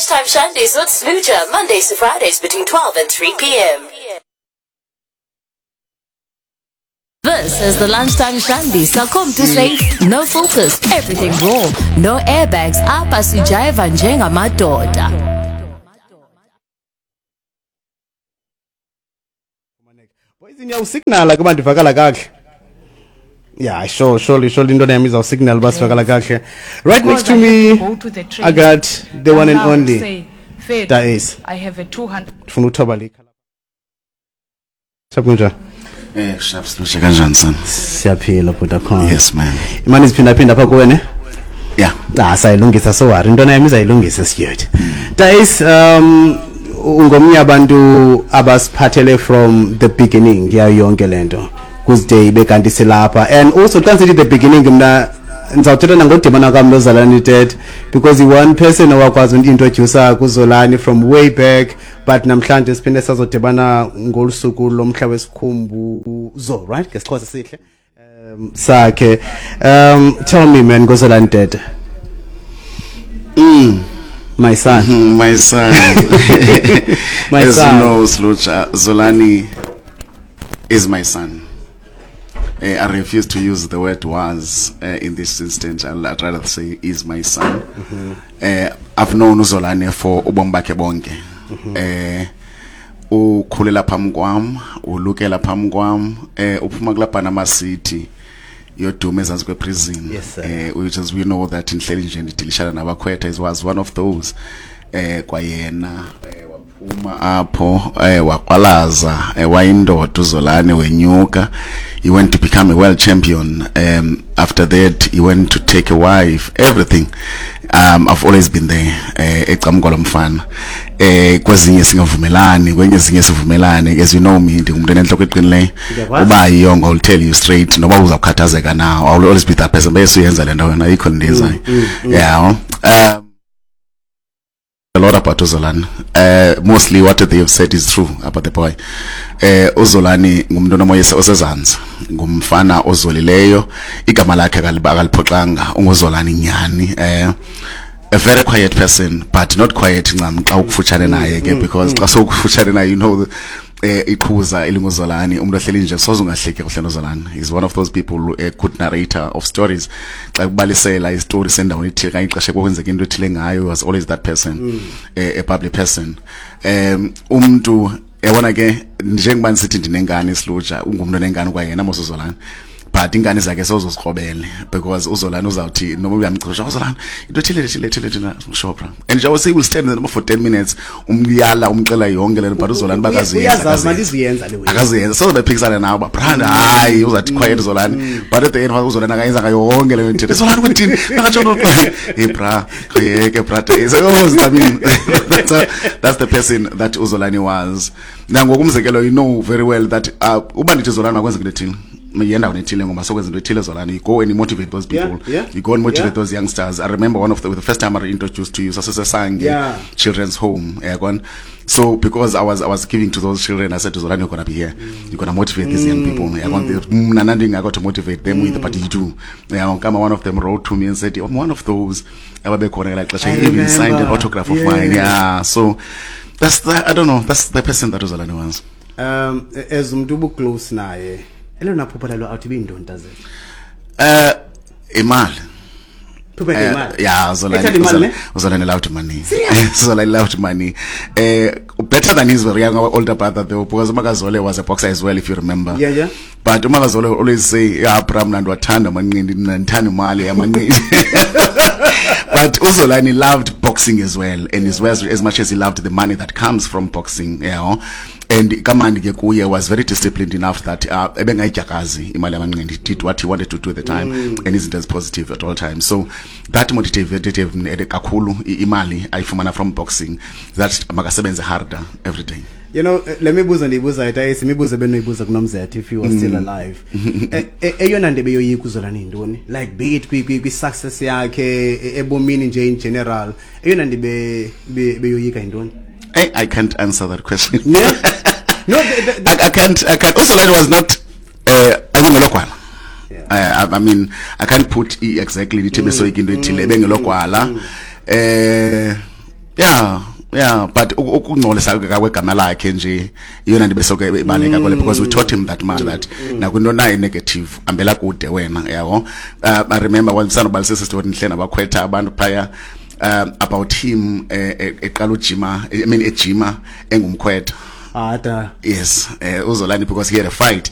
Lunchtime Shandies with Sluja, Mondays to Fridays between 12 and 3 p.m. This is the Lunchtime Shandy. So come to safe, no filters, everything raw, no airbags. Apha sijayiva njengamadoda. Boys niyawusignala kuba ndivakala kakuhle. Yeah, sure, surely, surely into yami izawusignal uba sivakala kakuhle. Right next to me, Go to the train. I got the one and Now only say, "Fed, Daes. I have a 200 Ndifuna uthoba le ikhala. Sakunjani? Sharp Slusha kanjani son? Siyaphila bhuti khona. Yes man. Imani ziphindaphinda apha kuwe ne? Yeah. Ah, sayilungisa so worry. Intona yami izayilungisa siyethu. Days ungomnye abantu abasiphathele from the beginning yayo yonke lento. Kuze ibe kanti silapha and also xa sithi the beginning mna ndizawuthetha nangodibana kwam noZolani Tete because i-one person owakwazi uintroducer kuZolani from way back, but namhlanje siphinde sazodibana ngolu suku lomhla wesikhumbuzo, right, ngesiXhosa sihle sakhe. Tell me man ngoZolani Tete. My son. My son. My As son. you know, Slucha, Zolani is my son. I refuse to use the word was in this instance. I'd rather say is my son. I've known uZolani for ubomi bakhe bonke. Ukhulela phambi kwam, ulukela phambi kwam, uphuma kulapha Panama City yoduma ezantsi kweprison. Yes, sir. Which as we know that inhleli nje ndidilishana nabakhwetha, he was one of those. Kwayena waphuma apho, wakwalaza, wayindoda uZolani, wenyuka. He went to become a world champion. After that he went to take a wife, everything. I've always been there ecamkwa lomfana. Kwezinye singavumelani, kwenye ezinye sivumelane. As you know me, ndingumuntu enentloko eqinileyo. Ndiyakwazi. Uba yiyongo, I'll tell you straight, noba uzawukhathazeka na, I'll always be that person. Bese uyenza le nto wena, ayikho le nto yenzayo. Yeah. A lot about uZolani. Mostly what they have said is true about the boy. UZolani ngumuntu onomoya osezantsi, ngumfana ozolileyo, igama lakhe akaliphoxanga, unguZolani nyani. A very quiet person, but not quiet ncam xa ukufutshane naye ke, because xa sowukufutshane naye, you know, iqhuza elinguZolani, umuntu ohleli nje soze ungahleki kuhle noZolani. He's one of those people, a good narrator of stories. Xa kubalisela isitori sendaweni ethile kanye ixesha kwenzeka into ethile ngayo, he was always that person, a public person. Umuntu yabona ke, njengoba ndisithi ndinengane isiluja, ungumntu onengane kwayena mos uZolani, but ingane zakhe sowuzozikrobele because uZolani uzawuthi noma uyamchosha uZolani into ethile ethile ethile ethile, sure bra, and nje say will stand there for 10 minutes, umyala umxela yonke le nto, but uZolani bakaziyenza. Uyazazi manje iziyenza le way. Akaziyenza, soze bephikisana nawe ba brand, hayi, uzathi quiet uZolani, but at the end uZolani akayenza ngayo yonke le nto. Zolani kwethini akatsho, hey bra, yeke bra, so oh, I mean, that's the person that uZolani was. Nangokumzekelo, you know very well that uba ndithi Zolani makwenze into ethile, yendaweni ethile ngoba sokwenza into ethile, Zolani, you go and you motivate those people. You go and motivate those youngsters. I remember one of the first time I introduced to you, sasisesange children's home, yabona. So because I was giving to those children, I said to Zolani, you're gonna be here, you're gonna motivate these young people, yabona. Mna nandingakho to motivate them with, but you do, yabona. Kama one of them wrote to me and said, I'm one of those ababekhona ngelaa xesha. I He even signed an remember. autograph of mine. Yeah, so that's the, I don't know, that's the person that uZolani was. As umuntu ubuclose naye, elona phupha lalo out ibiyintoni tazethu? Imali. Phupha imali. Yeah, Zolani, Ethanda imali, ne? Zolani loved money. Zolani loved money. Better than his very young older brother though, because uMakazole was a boxer as well, if you remember. Yeah. But uMakazole would always say, yeah, bra, mna ndiwathanda amanqindi, mna ndithanda imali yamanqindi. But uZolani loved boxing as well, and as well as much as he loved the money that comes from boxing. And kamandi ke kuye was very disciplined enough that ebengayidyakazi imali yamanqindi. He did what he wanted to do at the time, and isn't as positive at all times. So that motivated him kakhulu, imali ayifumana from boxing, that makasebenze harder every day. You know, le mibuzo ndiyibuzayo Tayisi, imibuzo ebenoyibuza kuNomzetho if he was still alive. Eyona nto ebeyoyika uZolani yintoni? Like be it kwi-success yakhe, ebomini nje in general, eyona nto beyoyika yintoni? Hey, I can't answer that question. Yeah? No, I can't. I can't. Uzolani was not. Akungelogwala. I mean, I can't put exactly ndithi besoyika into ethile, ebengelogwala. Yeah, but ukungcolisa kwegama lakhe nje iyona nto besoke ibaleka kole, because we taught him that much, that nakwinto nayo negative ambela kude wena, yabo. I remember when sanobalisisa story ndihle nabakhwetha abantu phaya about him eqala ujima, I mean, ejima engumkhwetha. Ada. Yes, uZolani, because he had a fight.